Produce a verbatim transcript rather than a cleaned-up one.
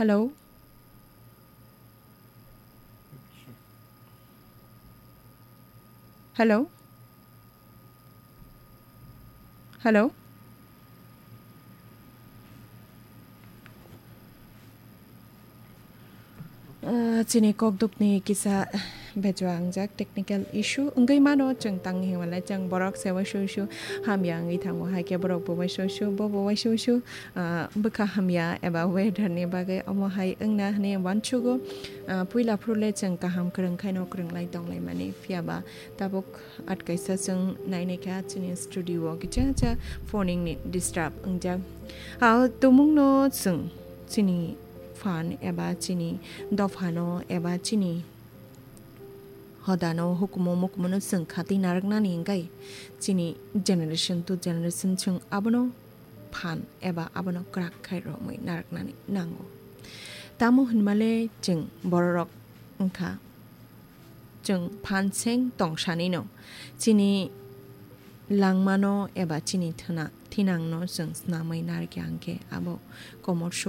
Hello? Hello? Hello? Ah, chini kokdukni kisa bejwa wngjak technical issue wngwi mano, chwng tang himale chwng borok se waisui su hamya wngwi thango, hai khe borok bo waisui su, bo bo waisui su, ah, bwkha hamya eba weather ni bagwi omo hai wngna hwnwi uansugo. Ah, puila phuru le chwng kaham kwrwng khaino kwrwng lai tong lai mani, phiya ba tabuk atkaisa chwng nainai kha chini studio o kichangsa phoning ni disturb wngjak. Ah, tumung no chwng chini phan eba chini dopha no eba chini hodano hukumu mukumu no chwng khatwi narwknani wngkha chini generation to generation chwng abono phan eba abono kwrak khai romwi narwknani nango. Tamo hwnmale chwng bororok wngkha chwng phan seng tongsanino chini langmano eba chini thwna-, thinangno chwng snamwi narwkya hwnkhe abo komor